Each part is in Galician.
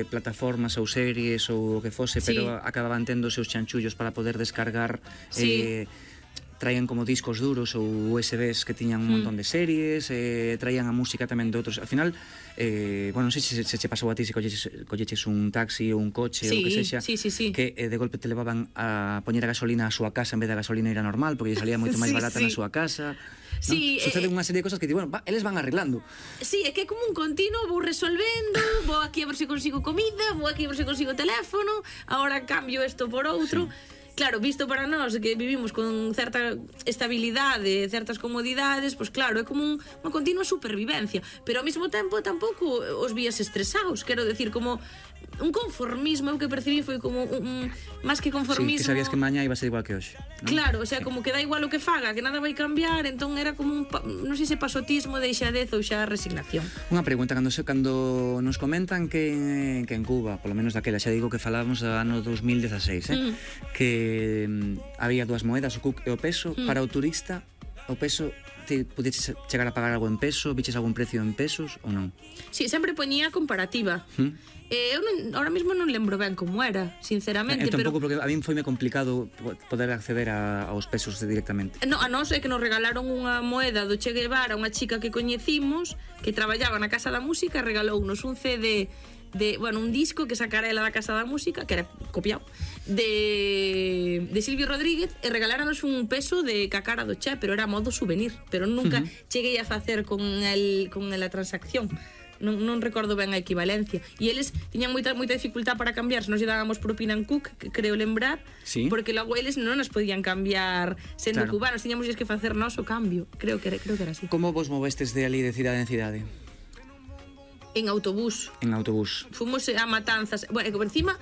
plataformas ou series ou o que fose, pero acababan tendo os seus chanchullos para poder descargar. Traían como discos duros ou USBs que tiñan un montón de series, traían a música tamén de outros. Al final, bueno, non sei se che pasou a ti, se colleches un taxi ou un coche ou que sexa, que de golpe te levaban a poñer a gasolina á súa casa en vez da gasolina era normal, porque lle salía moito máis barata na súa casa. Suceden unha serie de cosas que di, bueno, eles van arreglando. Sí, é que é como un continuo, vou resolvendo, vou aquí a ver se consigo comida, vou aquí a ver se consigo teléfono, agora cambio isto por outro. Claro, visto para nós que vivimos con certa estabilidade, certas comodidades, pois claro, é como unha continua supervivencia, pero ao mesmo tempo tampouco os vías estresados, quero decir, como un conformismo, o que percibí foi como máis que conformismo. Sí, que sabías que mañá iba a ser igual que hoxe, ¿no? Claro, o sea, como que dá igual o que faga, que nada vai cambiar, entón era como non sei se pasotismo, deixadez ou xa resignación. Unha pregunta, cando nos comentan que en Cuba, polo menos daquela, xa digo que falábamos do ano 2016, que había dúas moedas, o cuc e o peso. Para o turista, o peso, te pudeches chegar a pagar algo en peso? Viches algún precio en pesos ou non? Sí, sempre poñía comparativa. Eu ahora mesmo non lembro ben como era, sinceramente. Tampouco, porque a mí foime complicado poder acceder aos pesos directamente. No, a nós é que nos regalaron unha moeda do Che Guevara, unha chica que coñecimos, que traballaba na Casa da Música, regalounos un CD bueno, un disco que sacara ela da Casa da Música, que era copiado, de Silvio Rodríguez, e regaláranos un peso de cacara do Che, pero era a modo souvenir, pero nunca cheguei a facer con a transacción. Non recordo ben a equivalencia. E eles tiñan moita dificultad para cambiar, se nos lle dábamos propina en Cook, que creo lembrar, porque logo eles non nos podían cambiar sendo cubanos, tiñamos que facer nós o cambio. Creo que era así. Como vos movestes de ali de cidade en cidade? En autobús. Fomos a Matanzas. Bueno, por encima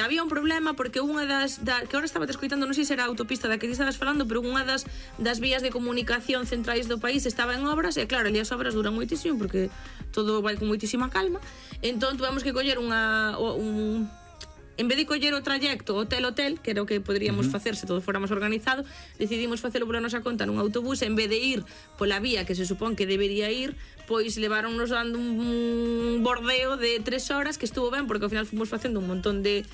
había un problema porque unha que ahora estaba escoitando, non sei se era a autopista da que estabas falando, pero unha das vías de comunicación centrais do país estaba en obras, e claro, ali as obras duran moitísimo porque todo vai con moitísima calma. Entón tuvemos que coller en vez de coller o trayecto hotel-hotel, que era o que poderíamos facer se todo fóramos organizado, decidimos facelo pola nosa conta nun autobús, en vez de ir pola vía que se supón que debería ir, pois leváronnos dando un bordeo de 3 horas, que estuvo ben, porque ao final fomos facendo un montón de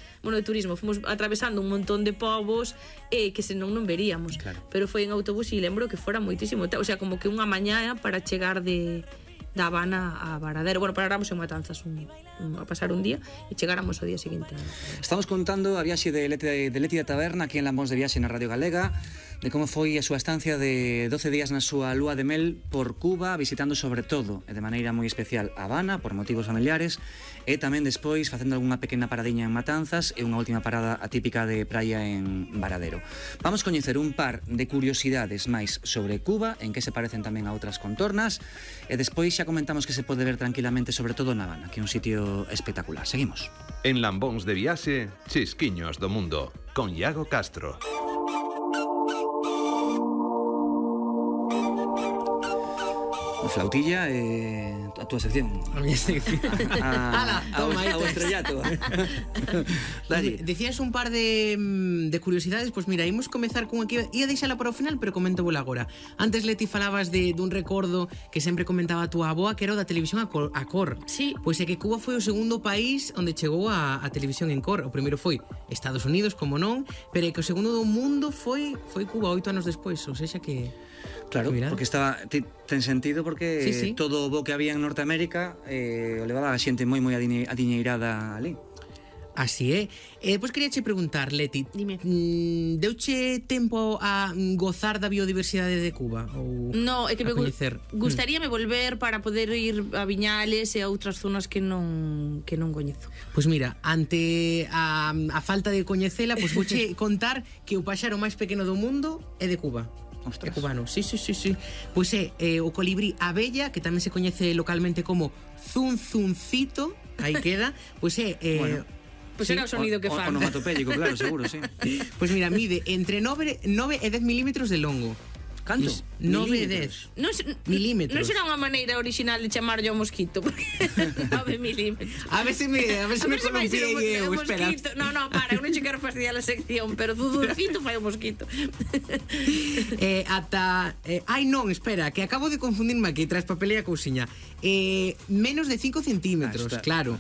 turismo, fomos atravesando un montón de povos que senón non veríamos, pero foi en autobús e lembro que fora moitísimo, o sea, como que unha mañá para chegar da Habana a Varadero. Bueno, paráramos en Matanzas a pasar un día e chegáramos ao día seguinte. Estamos contando a viaxe de Leti da Taberna aquí en Lambóns de Viaxe na Radio Galega, de como foi a súa estancia de 12 días na súa lúa de mel por Cuba, visitando sobre todo e de maneira moi especial Habana por motivos familiares, e tamén despois facendo algunha pequena paradiña en Matanzas e unha última parada atípica de praia en Varadero. Vamos coñecer un par de curiosidades máis sobre Cuba, en que se parecen tamén a outras contornas, e despois xa comentamos que se pode ver tranquilamente sobre todo na Habana, que é un sitio espectacular. Seguimos. En Lambóns de Viaxe, Chisquiños do Mundo, con Iago Castro. Flautilla, a túa sección. A miña sección. Ao estrellato. Decías un par de curiosidades, pois mira, imos comezar con aquí, ia deixala para o final, pero comento vola agora. Antes, Leti, falabas dun recordo que sempre comentaba a túa avoa, que era o da televisión a cor. Sí. Pois é que Cuba foi o segundo país onde chegou a televisión en cor. O primeiro foi Estados Unidos, como non, pero é que o segundo do mundo foi Cuba 8 anos despois, ou seja que... Claro, porque ten sentido porque todo o bo que había en Norteamérica o levaba a xente moi adiñeirada ali. Así é. Pois queríache preguntar, Leti, dime, deuche tempo a gozar da biodiversidade de Cuba? Ou no, é que me gustaríame volver para poder ir a Viñales e a outras zonas que non coñezo. Pois mira, ante a falta de coñecela, pois vouche contar que o paxaro máis pequeno do mundo é de Cuba. Ostras. É cubano, sí. Pois é o colibrí abella, que tamén se coñece localmente como zunzuncito, aí queda, pois é... bueno, pois era o sonido que fan. Onomatopéyico, claro, seguro, sí. Pois mira, mide entre 9 e 10 milímetros de longo. Canto? 9 e 10 milímetros. Non será unha maneira original de chamarlle ao mosquito, porque 9 milímetros. A ver se me columpiei eu, espera. No, para, eu non che quero fastidiar a sección, pero zuzurcito fai o mosquito. Ai non, espera, que acabo de confundirme aquí tras papelea cousiña. Menos de 5 centímetros, claro.